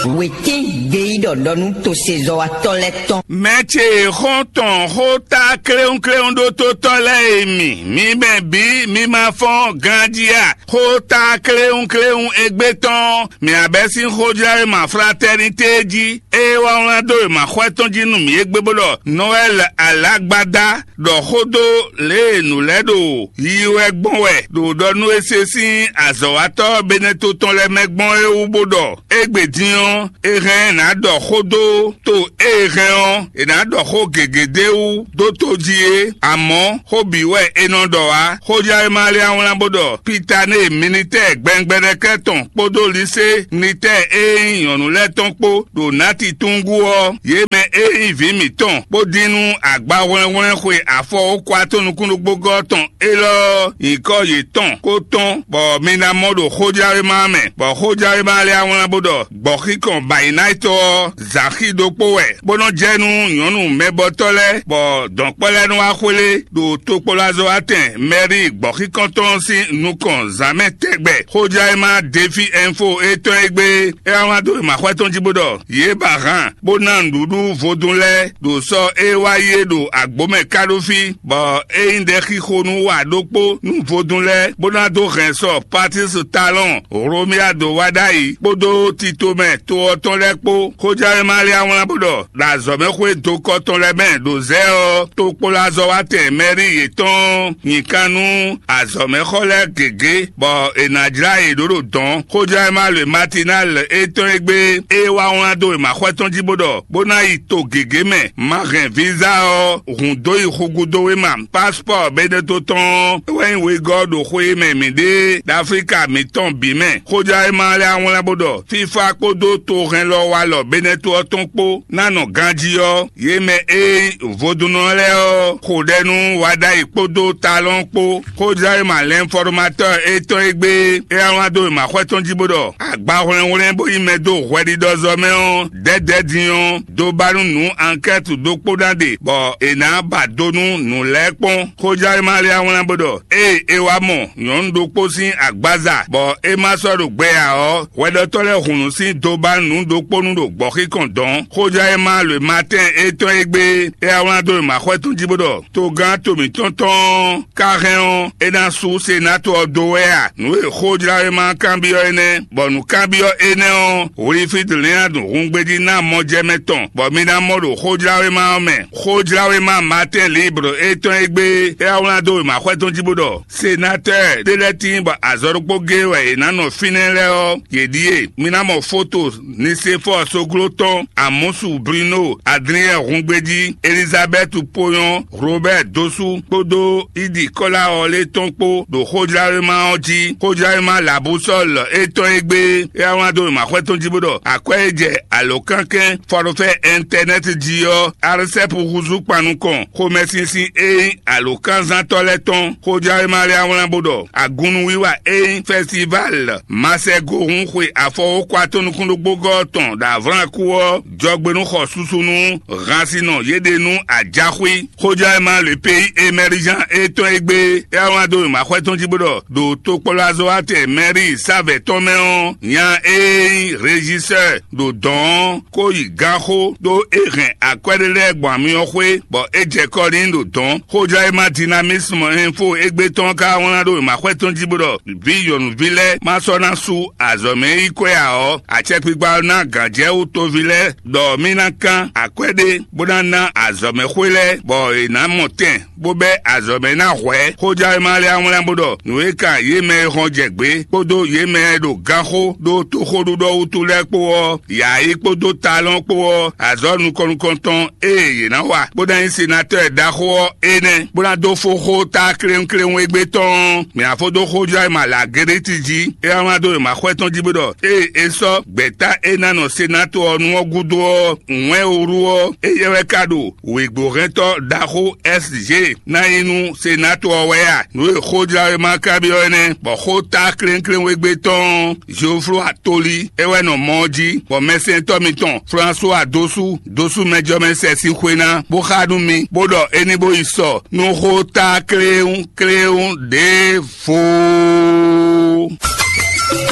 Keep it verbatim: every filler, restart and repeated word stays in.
Wětín gbeyíɖɔ ɖɔ nú tosezɔ́watɔ́ lɛ́ɛ tɔn. Mɛ ce e xɔ́n tɔn xó tá kléwúnkléwún ɖó tó tɔ́ lɛ́ɛ e mi, mi mɛ bǐ mi ma fɔ́n ganjí a? Xó tá kléwúnkléwún égbé tɔn, mǐ abɛ́ sín xójlá e ma fratɛ́nitée jí, ée wá wlán dó e ma xwɛ tɔn jí nú mǐ égbé bó ɖɔ Nɔwɛ́li alǎgbada ɖɔ xó dó lě e nǔ lɛ́ɛ ɖo yiyi wɛ gbɔn wɛ ɖo ɖɔ nú é se sín azɔ̌watɔ́ Benɛto tɔn lɛ́ɛ mɛ gbɔn é wú bó ɖɔ: Égbé din ɔ́, è hɛn ná ɖɔ xó dó to e è hɛn ɔ́, è nǎ ɖɔ xó gěgé d'é wú dó tó jí é; amɔ̌, xó bǐ wɛ è nɔ ɖɔ ǎ. Xójlá e ma lé wlán bó ɖɔ Pitanée militɛ́ɛ gbɛngbɛnɛkɛ́ tɔn kpódó Lisée militɛ́ɛ e nyí nyɔ̌nu lɛ́ɛ tɔn kpó ɖo nǎtitúngú ɔ́, yě mɛ e nyí vǐ mǐtɔn bó dín nú agbahwlɛ́nhwlɛ́n xwe afɔwókwa tɔn nukúnnúgbógɔ́ tɔn élɔ́ ɔ́, nyǐkɔ yětɔn kó tɔ́n, bɔ mi ná mɔ ɖo xójlawéma ɔ́ mɛ, bɔ xójlawéma lɛ́ɛ wá wlán bó ɖɔ gbɔ̌xíkɔn Bayinayitɔ ɔ́, zǎxí ɖokpó wɛ, bó nɔ́ jɛ nú nyɔ̌nu mɛbɔtɔ́ lɛ́ɛ, bɔ dɔ̌nkpɛ́ lɛ́ɛ nɔ wá xwlé ɖo tokpɔlazɔwatɛn mɛrí gbɔ̌xíkɔntɔn ɔ́ sín nukɔn zǎn mɛ tɛgbɛ. Xójlawéma Defi Ɛnfo étɔn e gbé é wá wlán dó wěmaxwɛ tɔn jí bó ɖɔ: Yě ba han bó ná nǔɖuɖu vodún lɛ́ɛ ɖo sɔ e wá yi é ɖo agbǒ mɛ ká ɖó fí, bɔ é nyí ɖɛxixo nú wa ɖokpó nú vodún lɛ́ɛ, bó ná dó hɛn sɔ Patísi Talɔn Hlomia dó wá ɖ'ayǐ kpódó titomɛ to ɔ́ tɔn lɛ́ɛ kpó. Xójlawéma lɛ́ɛ wá wlán bó ɖɔ ɖo azɔ̌mɛxwé dokɔ tɔn lɛ́ɛ mɛ ɖo zɛ̌ ɔ́, tokpolazɔwatɛn mɛrí yětɔn nyi kan nú azɔ̌mɛxɔ lɛ́ɛ gěgé, bɔ è nǎ jlá yě ɖó ɖo dɔ̌n. Xójlawéma le Matinal étɔn e gbé é wá wlán dó wěmaxwɛ tɔn jí bó ɖɔ bó ná yi to gěgé mɛ, ma hɛn víza ɔ́, hǔn dó yi xugudówéma, pasipɔ́ɔ Benɛto tɔn ɔ́, é wɛ nyí wegɔ́ ɖo xwe e mɛ mǐ ɖe ɖo Aflíka mǐtɔn bǐ mɛ. Xójlawéma lɛ́ɛ wá wlán bó ɖɔ fífá kpódó tohɛnlɔwalɔ Benɛto ɔ́ tɔn kpó ná nɔ ganjí ɔ́, yě mɛ e nyí vodúnnɔ lɛ́ɛ ɔ́ xo ɖɛ nú Waɖayi kpódó Talɔn kpó. Xójlawéma Lɛnfɔrmatɔ́ɔ étɔn e gbé é wá wlán dó wěmaxwɛ tɔn jí bó ɖɔ agbahwlɛ́nhwlɛ́n bó nyí mɛ dó hwɛɖiɖɔzɔ́ mɛ ɔ́, dɛ̌dɛ̌ din ɔ́, dó ba nú nǔ ankɛ́tu ɖokpó ná ɖe, bɔ è nǎ ba do nú nǔ lɛ́ɛ kpɔ́n. Xójlawéma lɛ́ɛ wá wlán bó ɖɔ ée é wá mɔ nyɔ̌nu ɖokpó sín agbaza, bɔ é ma sɔ́ ɖo gbɛ ǎ ɔ́, hwɛɖɔtɔ́ lɛ́ɛ hun nǔ sín do ba nǔ ɖokpónú ɖo gbɔ̌xíkɔn dɔ̌n. Xójlawéma le Matɛ́n étɔn e gbé é wá wlán dó wěmaxwɛ tɔn jí bó ɖɔ togán to mǐtɔn tɔn ɔ́ ka hɛn ɔ́, é ná sú senátɔ ɔ́ dó wɛ a? Nǔ e xójlawéma kanbyɔ́ énɛ́, bɔ nǔkanbyɔ́ énɛ́ ɔ́, Wiliflídu Lɛ́nadu hungbejí ná mɔjɛmɛ tɔn, bɔ mi ná mɔ ɖo xójlawéma ɔ́ mɛ. Xójlawéma Matɛ́n Libre étɔn e gbé é wá wlán dó wěmaxwɛ tɔn jí bó ɖɔ senatɔ́ɔ ɖé lɛ́ɛ tíin bɔ azɔ̌ ɖokpó géé wɛ yě ná nɔ fínɛ́ lɛ́ɛ ɔ́, yě ɖíe: mi ná mɔ foto Nisefɔ́ɔ Sogló tɔn, Amɔ́su Brino, Adliyɛ́ɛ hungbejí, Elizabɛ́tu Poyɔn, Hlobɛ́ɛ Dosú kpódó Idi Kɔ́lawɔlé tɔn kpó ɖo xójlawéma ɔ́ jí. Xójlawéma Labusɔ́l étɔn e gbé é wá wlán dó wěmaxwɛ tɔn jí bó ɖɔ akwɛ́ e jɛ alǒkankɛ́n fɔɖófɛ́ ɛntɛnɛ́ti jí ɔ́, Arsɛ́pu húzú kpan nukɔn xomɛsinsin e nyí alǒkánzántɔ́ lɛ́ɛ tɔn. Xójlawéma lɛ́ɛ wá wlán bó ɖɔ agunnuwiwa e nyí fɛstivál Masɛgohun xwe afɔwókwa tɔn nukúnnúgbógɔ́ tɔn ɖo Avlánku ɔ́ jɔgbe nú xɔ susu nú hansinɔ yě ɖe nú ajaxwí. Xójlawéma le pays émergent étɔn e gbé é wá wlán dó wěmaxwɛ tɔn jí bó ɖɔ ɖo tokpɔlazɔwatɛn mɛri sávɛ tɔn mɛ ɔ́, nya e nyí régisseur ɖo dɔ̌n ɔ́ kó yi ganxó ɖó é hɛn akwɛ́ ɖé lɛ́ɛ gbɔn amyɔ xwé, bɔ é jɛ kɔ n'i ɖo dɔ̌n. Xójlawéma Dynamisme Info égbé tɔn ka wlán ɖó wěmaxwɛ tɔn jí bó ɖɔ vǐ nyɔ̌nuví lɛ́ɛ ma sɔ́ ná sú azɔ̌ mɛ yi kwɛ́ ǎ ɔ́, acɛkpikpa ɔ́ ná gǎnjɛwú toví lɛ́ɛ ɖɔ mì ná kán akwɛ́ ɖé bó ná ná azɔ̌mɛxwé lɛ́ɛ, bɔ è nǎ mɔ tɛn bó bɛ́ azɔ̌ mɛ ná hwɛ̌. Xójlawéma lɛ́ɛ wá wlán bó ɖɔ nǔ e kan yě mɛ e hɔn jɛ gbě kpódó yě mɛ e ɖo ganxó ɖó toxóɖuɖɔ wútu lɛ́ɛ kpó ɔ́, yǎyi kpódó talɔn kpó ɔ́, azɔ̌ nukɔn nukɔntɔn e yě ná wa bó ná nyí senatɔ́ɔ ɖaxó ɔ́ énɛ́, bó ná dó fó xó ta kléwúnkléwún égbé tɔn ɔ́, mǐ ná fó dó xójlawéma Lageleti jí. É wá wlán dó wěmaxwɛ tɔn jí bó ɖɔ ée é sɔ́ gbɛ̌ta e ná nɔ senatɔ́ ɔ́ nu ɔ́ gúdo ɔ́, wɛn wúru ɔ́, éyɛ́ wɛ ka ɖo wěgbóhɛntɔ́ ɖaxó S G ná nyí nú senatɔ́ ɔ́ wɛ a? Nǔ e xójlawéma ka byɔ́ énɛ́, bɔ xó ta klénklénwégbé tɔn ɔ́, Zofló Atoli é wɛ nɔ mɔ ɔ́ jí, bɔ mɛsɛntɔ́ mitɔn Flasuwa Dosú, Dosú mɛjɔmɛ sɛ sín xwé ná, bó xá nú mi, bó ɖɔ é ní bó yi sɔ nú xó ta kléwún kléwún ɖěvo.